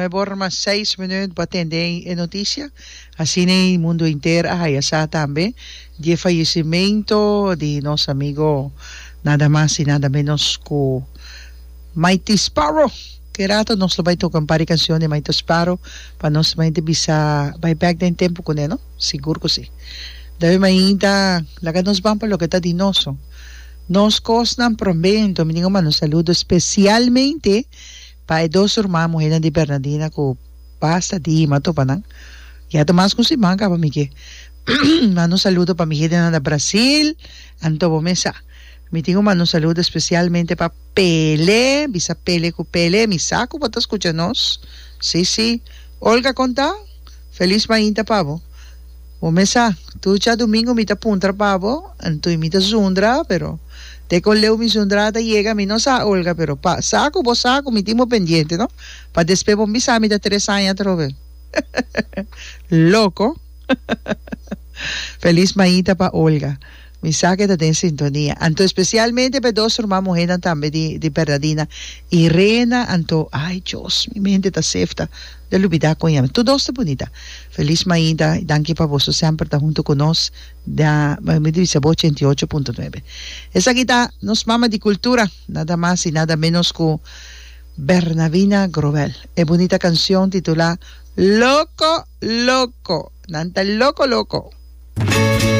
Nuebe ora mas seis minuut bo a tende e noticia. Asina e mundo henter a haya sa tambe di e fayecimento di nos amigo nada mas y nada menos cu Mighty Sparrow. Ke rato nos lo bay toca un par di cancion di Mighty Sparrow pa nos mente bisa bay bek den tempo cune no? Sigur cu si. David mainta laga nos ban pa loke ta di nos. Nos cosnan prome enton mi tin cu manda un saludo especialmente pa e dos ruman muhernan di Bernadina cu basta di hima topa nan. Ya ta mas cu un siman caba mi ke manda un saludo pa mi hendenan na Brasil, anto bo mes sa. Mi tin cu manda un saludo especialmente pa Pele, bisa Pele cu Pele, mi sa cu bo ta scucha nos. Si, si. Olga con ta? Feliz mainta pa bo. Bo mes sa, tur djadumingu mi ta puntra pa bo, anto mi ta zundra, pero te con leu mi zundra ta yega mi no sa, Olga, pero pa sa cu bo sa cu mi tin bo pendiente, no? Pa despues bo bisa mi ta tres aña atrobe. Loco. Feliz mainta pa Olga. Mi sa ke ta den sintonia. Anto especialmente pa e dos ruman muhernan tambe di di Bernadina, Irena, anto ay Dios mi mente ta sefta de lubida con yama. Tur dos ta bunita. Feliz mainta y danki pa boso semper ta hunto cu nos na mi di bisa bo 88.9. Esaki ta nos mama di cultura, nada mas y nada menos cu Bernadina Grobel. E bunita cancion titula Loco Loco. Nan ta loco loco.